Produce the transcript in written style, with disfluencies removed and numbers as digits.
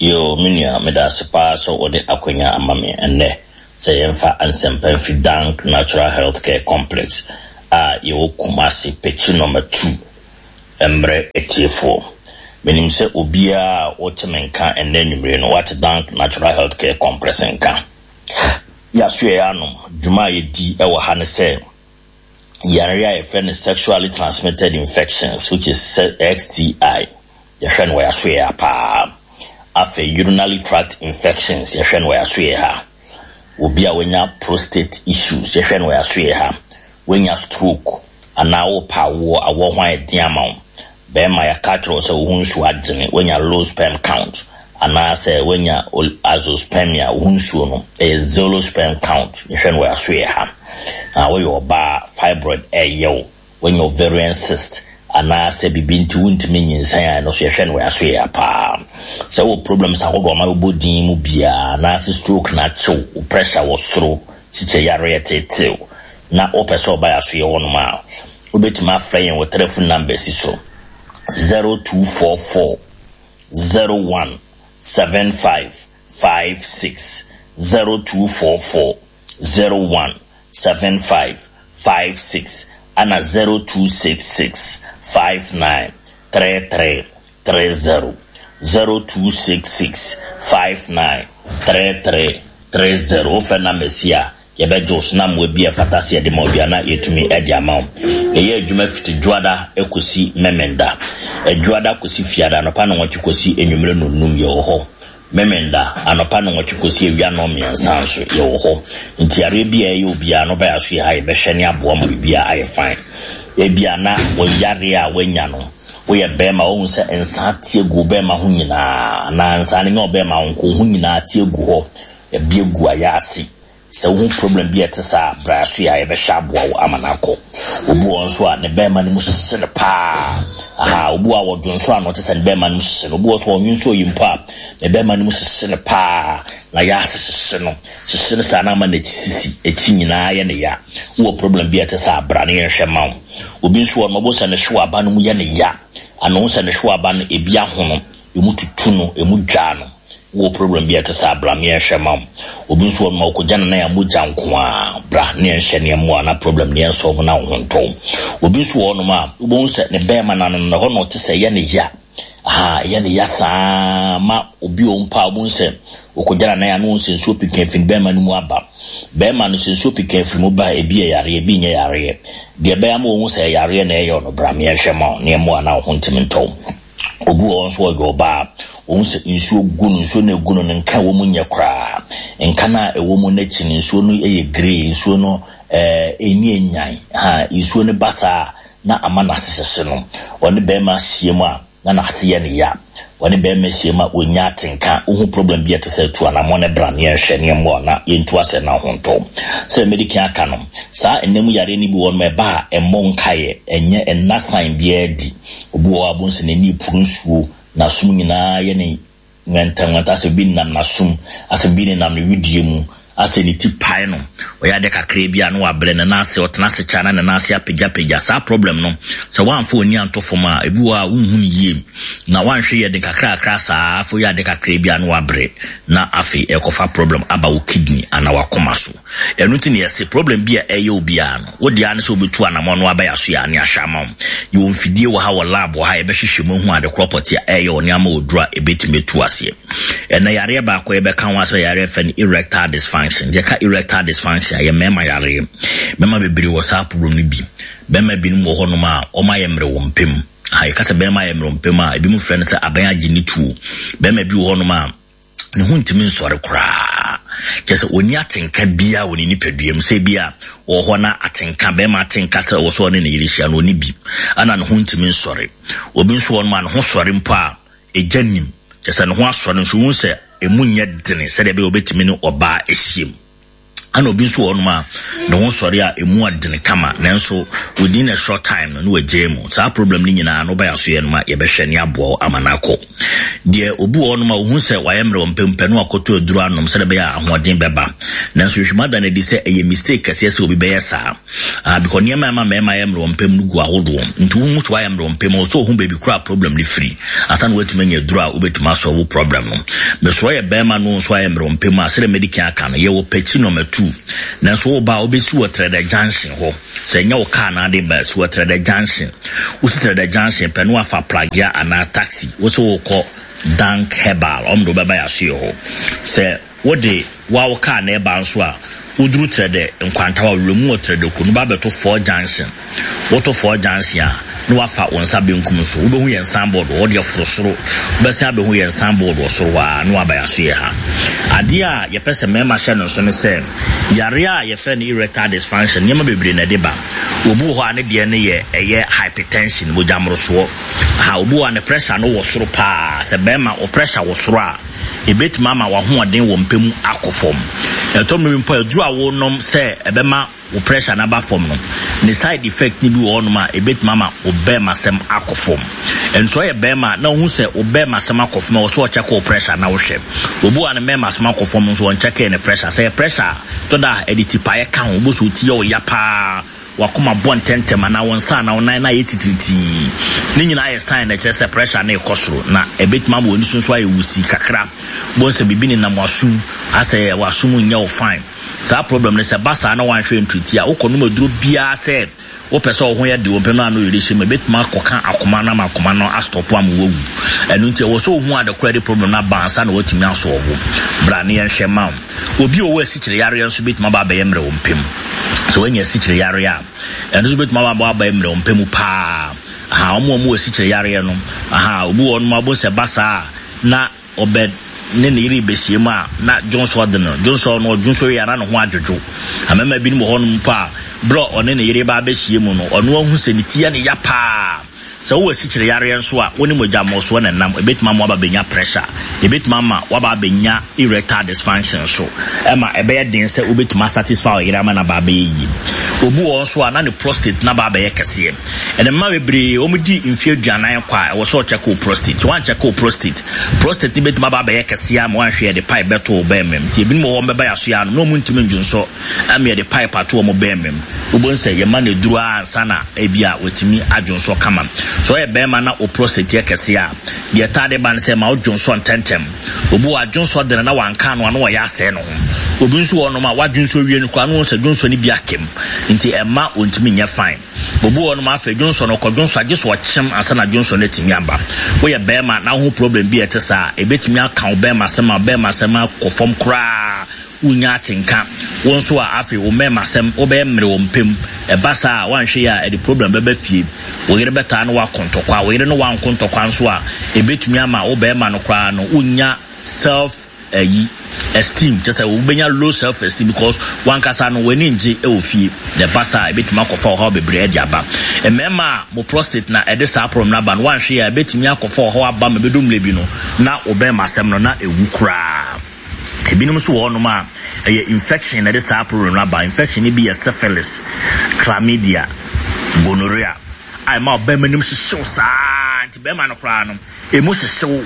Yoo me nua medase paa sɛ wode akwanya ama me ɛnnɛ sɛ yɛmfa nsɛmpa mfiri Dank Natural Health Care Complex a yɛwɔ Kumasi Pekyi Nɔma 2 mmerɛ atiefoɔ. Menim sɛ obiara a wote me nka ɛnnɛ anwummere no wate Dank Natural Health Care Complex nka. Yɛasoɛeɛ anom dwuma a yɛdi wɔ ha ne sɛ yare a yɛfrɛ no sexually transmitted infections which is STI yɛhwɛ no wɔ yɛasoɛ ha paa. Afei urinary tract infections yɛhwɛ no wɔ yɛasoɛ ha. Obi a wanya prostate issues yɛhwɛ no wɔ yɛasoɛ ha. Wanya stroke anaa wopɛ awoɔ awoɔ ho ayɛ den ama wo. Bɛrima yɛaka akyerɛ wo sɛ wo ho nsuo agyene wanya low sperm count anaasɛ wanya azoospermia wo ho nsuo no ɛyɛ zero sperm count yɛhwɛ no wɔ yɛasoɛ ha. Na woyɛ ɔbaa fibroid ɛyɛ wo wanya ovarian cyst anaasɛ biribi nti wontumi nyinsɛn a ɛno nso yɛhwɛ no wɔ yɛasoɛ ha paa. Sɛ wowɔ problems ahodoɔ a ɔma bɛbɔ din mu biara anaasɛ stroke na akyew wo pressure wɔ soro kyikyɛ yareɛ tetew na wopɛ sɛ ɔba yɛasoɛ hɔnom a wobɛtumi afrɛ yɛn wɔ telephone numbers yi so 0244 01 75 56 0244 01 75 56 ana 0266 59 33 30 0266 59 33 30 wofrɛ numbers yi a yɛbɛgye wo so na mmoa bi a ɛfata sɛ yɛde ma wo biara na yɛtumi de ama wo. Yɛyɛ adwuma fiti Dwoada kɔsi Memenda. Dwoada kɔsi Fiada, anɔpa nnɔnwɔtwe kɔsi anwummerɛ nnɔnnum yɛwɔ hɔ. Memenda, anɔpa nnɔnwɔtwe kɔsi awia nnɔnmiɛnsa nso yɛwɔ hɔ. Nti yareɛ bi a ɛyɛ obiara no wobɛyɛ aso yɛ ha yɛbɛhwɛ ne aboa ma biribiara ayɛ fine. Ebia na wo yareɛ a woanya no woyɛ bɛrima wohu sɛ nsa ate agu wo bɛrima ho nyinaa anaa nsa no nyɛ ɔbɛrima ho nko wo ho nyinaa ate agu hɔ, ebi agu ayaase. Sɛ wohu problem bi a ɛte saa a, bra so yɛ a yɛbɛhwɛ aboa wo ama no akɔ. Obi wɔ hɔ nso a, ne bɛrima no mu hyehye no paa. Aha, obi wɔ hɔ a wɔdwonsɔ ano te sɛ ne bɛrima no mu hyehye no. Obi wɔ hɔ nso a ɔnwonsɔ yi mpo a, ne bɛrima no mu hyehye no paa. Na yɛ ase hyehye no. Hyehye no saa na ama n'akyi sisi, akyi nyinaa yɛ ne ya. Wowɔ problem bi a ɛte saa a, bra na yɛnhwɛ mma wo. Obi nso wɔ hɔ no, wobɛhu sɛ ne hwewa aba no mu yɛ ne ya. Anaa wohu sɛ ne hwewa aba no, ebi ahono, emu tutu no, emu dwaa no. Wowɔ problem bi a ɛte saa a, bra ma yɛnhwɛ mma wo. Obi nso wɔ hɔ nom a, ɔkɔgya ne nan a mogya nko ara. Bra na yɛnhwɛ na yɛmmoa na problem no yɛnsɔlve na wo ho ntɔ wo. Obi nso wɔ hɔ nom a, wobɛhu sɛ ne bɛrima no ano no, ɛhɔ na ɔte sɛ ɛyɛ ne ya. Aha, ɛyɛ ne ya saa ma obi wɔ hɔ mpo a, wobɛhu sɛ ɔkɔgya ne nan a na wohu sɛ nsuo peka firi ne bɛrima no mu aba. Bɛrima no, sɛ nsuo peka firi mu ba a, ebi yɛ yareɛ, ebi nyɛ yareɛ. Deɛ ɛbɛyɛ ama wɔahu sɛ ɛyɛ yareɛ na ɛyɛ wo no, bra ma yɛnhwɛ mma wo na yɛmmoa na wo ho ntumi ntɔ wo. Obi wɔ hɔ nso ɔyɛ ɔbaa a, ohu sɛ nsuo gu no, nsuo no egu no no nka ɛwɔ mu nyɛ koraa. Nka no a ɛwɔ mu no akyi no, nsuo no yɛ grey, nsuo no ɛɛ ɛni enyan. Ha, nsuo no ba saa a, na ama n'ase hyehye no. Ɔne bɛrima hyia mu a, na n'ase yɛ no ya. Ɔne bɛrima hyia mu a, ɔnya atenka. Wohu problem bi a ɛte sɛ tu anammɔn na bra na yɛnhwɛ na yɛmmoa na yɛntu asɛ na ho ntɔ. Sɛdeɛ medi kan aka no, saa nna mu yareɛ no bi wɔ hɔ nom a, ɛba a, ɛmmɔ nkaeɛ, ɛnyɛ ɛnna sign biara adi. Obi wɔ hɔ a, wobɛhu sɛ n'ani repuru nsuo, n'asom nyinaa yɛ no nwɛntɛnwɛntɛ, asɛ biribi nenam n'asom, asɛ biribi nenam ne wedeɛ mu, asɛ ne ti pae no, ɔyɛ adeɛ kakraa bi a na wabrɛ, ne nan ase, ɔtena ase kyɛ a na ne nan ase apagyapagya. Saa problem no, sɛ woamfa w'ani anto fam a, ebi wɔ hɔ a wonhu no yie, na woanhwɛ yie a, ɛde nkakrakra saa, afei woyɛ adeɛ kakraa bi a na wabrɛ, na afei ɛrekɔfa problem aba wo kidney anaa w'akoma so. Ɛno nti na yɛse problem bi a ɛyɛ wo biara no, wo dea ne sɛ wobɛtu anamɔn na waba yɛaso yɛ ane ahwɛ ama wo. Yɛwɔ mfidie wɔ ha wɔ lab wɔ ha a yɛbɛhwehwɛ mu ahu ade korɔ pɔtee a ɛyɛ wo ne ama wo duro a ɛbɛtumi atu aseɛ. Ɛnnɛ yareɛ baako a yɛbɛka ho asɛm yɛ yareɛ yɛfrɛ no erectile dysfunction. Yɛka erectile dysfunction a, ɛyɛ mmarima yareɛ. Mmarima bebree wɔ saa problem no bi. Barima binom wɔ hɔnom a wɔayɛ mmerɛ wɔ mpa mu. Aha, yɛka sɛ barima ayɛ mmerɛ wɔ mpa mu a, ebinom frɛ no sɛ aban agye ne tuo. Barima bi wɔ hɔnom a, ne ho ntumi nsɔre koraa. Kyerɛ sɛ ɔnni atenka biara wɔ ne nipadua mu. Sɛ bi a ɔwɔ hɔ na atenka, bɛrima atenka sɛ ɔwɔ sɛ ɔne ne yere hyia no, ɔnni bi. Ɛna ne ho ntumi nsɔre. Obi nso wɔ hɔnom a ne ho sɔre mpo a, egya nnim. Kyerɛ sɛ ne ho asɔre nso, wohu sɛ emu nyɛ dene sɛdeɛ ɛbɛyɛ ɔbɛtumi ne ɔbaa ahyiam. Ɛna obi nso wɔ hɔnom a ne ho sɔre a emu ɔdene kama nanso within a short time no na wagyae mu. Saa problem no nyinaa no wobɛyɛ aso yɛ no ma yɛbɛhwɛ ne aboa wo ama no akɔ. Deɛ obi wɔ hɔnom a ohu sɛ wayɛ mmerɛ wɔ mpɛ no akɔtɔ aduro anom sɛdeɛ ɛbɛyɛ a ahoɔden bɛba. Nanso nhwehwɛmu ada no adi sɛ ɛyɛ mistake kɛseɛ sɛ obi bɛyɛ saa. Ah, because nneɛma a ɛma mmarima yɛ mmerɛ wɔ mpɛ mu no gu ahodoɔ. Nti wohu sɛ wayɛ mmerɛ wɔ mpɛ mu, ɔsɛ ohu baabi koraa problem no firi ansa na woatumi anya aduro a wobɛtumi asɔlve problem no. Mesrɛ yɛ bɛrima no nso ayɛ mmerɛ wɔ mpɛ mu a, sɛdeɛ madi kan aka no, yɛwɔ Pɛkyi number 2. Nanso woba a, wobɛsi wɔ Trɛdɛ Junction hɔ. Sɛ ɛnyɛ wo car na ade ba, si wɔ Trɛdɛ Junction. Wosi Trɛdɛ Junction pɛ na wafa pragea anaa taxi. Wo sɛ wokɔ Dank Herbal, ɔmo de wobɛba yɛasoɛ hɔ. Sɛ wode woa wo car na ɛba nso a, woduru Trɛdɛ Nkwantawa, wura mu wɔ Trɛdɛ kuro no, woba abɛto Four Junction. Woto Four Junction a, na wafa wo nsa benkum so. Wobɛhu yɛn signboard wɔ hɔ deɛ foro soro. Wobɛsan abɛhu yɛn signboard wɔ soro hɔ ara na waba yɛasoɛ ha. Adeɛ a yɛpɛ sɛ mmarima hyɛ no nso ne sɛ, yareɛ a yɛfrɛ no erectile dysfunction, nneɛma bebree na ɛde ba. Obi wɔ hɔ a ne deɛ no yɛ ɛyɛ hypertension, mogya mmorosoɔ. Ha, obi wɔ hɔ a ne pressure no wɔ soro paa. Sɛ bɛrima wo pressure wɔ soro a, ɛbɛtumi ama w'ahoɔden wɔ mpɛ mu akɔ fam. Ɛtɔ mmerɛ bi mpo a, aduro a wonom sɛ ɛbɛma wo pressure no aba fam no, ne side effect no bi wɔ hɔnom a ɛbɛtumi ama wo bɛrmasɛm akɔ fam. Nso ɔyɛ bɛrima na wohu sɛ wo bɛrmasɛm akɔ fam a, wɔ sɛ ɔkyɛke wo pressure na wohwɛ. Obi wɔ a ne mmarmasɛm akɔ fam nso ɔnkyɛkee ne pressure. Sɛ yɛ pressure a, tɔ da a ɛde tipaeɛ ka ho, wobɛhu sɛ wo ti yɛ wo ya paa, w'akoma bɔ ntɛmntɛm anaa wo nsa anaa wo nan no ayɛ titiritii. Ne nyinaa yɛ sign na ɛkyerɛ sɛ pressure no rekɔ soro na ɛbɛtumi ama w'ani so nso ayɛ wusi kakra. Wobɛhu sɛ biribi nenam w'asom, asɛ w'asom nyɛ wo fine. Saa problem no sɛ ɛba saa na woanhwɛ antriti a, wokɔnom aduro biara sɛ wopɛ sɛ wo ho yɛ de wo mpɛ no ano yere hyɛ mu, ɛbɛtumi akɔka akoma no ama akoma no astɔpo ama woawu. Ɛno nti ɛwɔ sɛ wohu ade korɔ de problem no aba ansa na woatumi asɔɔvo. Bra ne yɛnhwɛ ma wo. Obi a ɔwɔ asikyire yareɛ nso bɛtumi aba abɛyɛ mmerɛ wo mpɛ mu. Sɛ woanya asikyire yareɛ a, ɛno nso bɛtumi aba abɛyɛ mmerɛ wo mpɛ mu paa. Aha, wɔn a wɔwɔ asikyire yareɛ no, aha, obi wɔ hɔ nom abɔ sɛ ba saa a, na ɔbɛ ne ne yere rebɛhyia mu a, na dwonsɔ de no. Dwonsɔ no, ɔdwonsɔ wie a, na ne ho adwodwo. Mmarima binom wɔ hɔnom mpo a, berɛ a ɔne ne yere reba abɛhyia mu no, ɔno ahu sɛ ne ti yɛ ne ya paa. Sɛ wowɔ asikyire yareɛ nso a, wo ne mogya mmorosoɔ na ɛnam. Ɛbɛtumi ama woaba abɛnya pressure. Ɛbɛtumi ama woaba abɛnya erectile dysfunction nso. Ɛma ɛbɛyɛ den sɛ wobɛtumi asatisfy wo yere ama no aba abɛyɛ yie. Obi wɔ hɔ nso a, na ne prostate no aba abɛyɛ kɛseɛ. Ɛnɛ mmaa bebree wɔn di mfeɛ 40 kɔ a, ɛwɔ sɛ ɔkyɛke wo prostate. Sɛ woankyɛke wo prostate, prostate no bɛtumi aba abɛyɛ kɛseɛ ama woanhwɛ yɛde pipe bɛto wo bɛɛma mu. Nti ebinom wɔ hɔ wɔn bɛba yɛaso yɛ ano na wɔn ntumi ndwonsɔ ama yɛde pipe ato wɔn bɛɛma mu. Wobɛhu sɛ yɛma no aduro ara ansa na ebi a watumi adwonsɔ kama. Sɛ ɔyɛ bɛɛma na wo prostate yɛ kɛseɛ a, deɛ ɛtaa de ba ne sɛ ɛma wodwonsɔ ntɛntɛm. Obi wɔ adwonsɔ dene na wanka ano a na ɔyɛ asɛe ne ho. Obi nso wɔ hɔnom a wadwonsɔ wie no koraa na wohu sɛ dwonsɔ no bi akam nti ɛmma ɔntumi nyɛ fine. Obi wɔ hɔnom a afei dwonsɔ no ɔkɔ dwonsɔ a gye sɛ ɔkyem ansa na dwonsɔ no atumi aba. Woyɛ bɛrima na woho problem bi a ɛte saa a, ɛbɛtumi aka wo bɛrima sɛm a bɛrima sɛm akɔ fam koraa, wonnya atenka. Wo nso a afei wo mmarima sɛm wobɛyɛ mmere wɔ mpɛ mu. Ɛba saa a woanhwɛ yie a ɛde problem bɛba fie. Wo yere bɛtaa ne wo akɔ ntɔkwa. Wo yere ne wo anko ntɔkwa nso a, ɛbɛtumi ama wo bɛrima no koraa no wonnya self ayi esteem, kyɛ sɛ wobɛnya low self esteem because wankasa no w'ani ngye wɔ fie. Na ɛba saa a ɛbɛtumi akɔfa ɔhaw bebree de aba. Mmarima a mo prostate na ɛde saa problem no aba no, woanhwɛ yie a ɛbɛtumi akɔfa ɔhaw aba ma ɛbɛdu mmerɛ bi no na wo bɛrima asɛm no na ɛwu koraa. Ebinom nso wɔ hɔnom a ɛyɛ infection na ɛde saa problem no aba. Infection no bi yɛ syphilis, chlamydia, gonorrhea a ɛma ɔbarima nim hyehyew saa nti barima no koraa no emu hyehyew.